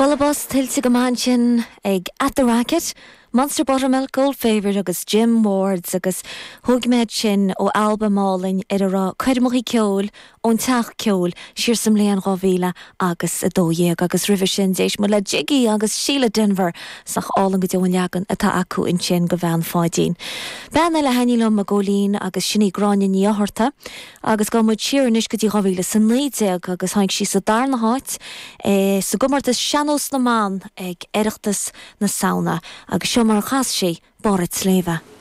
Bualadh bos tuillte go maith ansin ag At The Racket, Monster Buttermilk, Old Favourite agus Jim Wards agus thóg mé iad sin ó albam álainn ar a raibh coirmeacha ceoil ón Teach Ceoil siar sa mbliain 2000 agus 12 agus roimhe sin d'éist muid le Jiggy agus Síle Denvir sách álainn go deo an leagan atá acu ansin de Bhean Pháidín. Bean eile a thaitnigh liom a Ghóilín agus sin í Gráinne Ní Fhátharta. Agus gabhfaidh muid siar anois go dtí 2019 agus tháinig sí sa darna háit sa gcomórtas Sean-Nós na mBan ag Oireachtas na Samhna agus seo mar a chas sí Barr a' tSléibhe.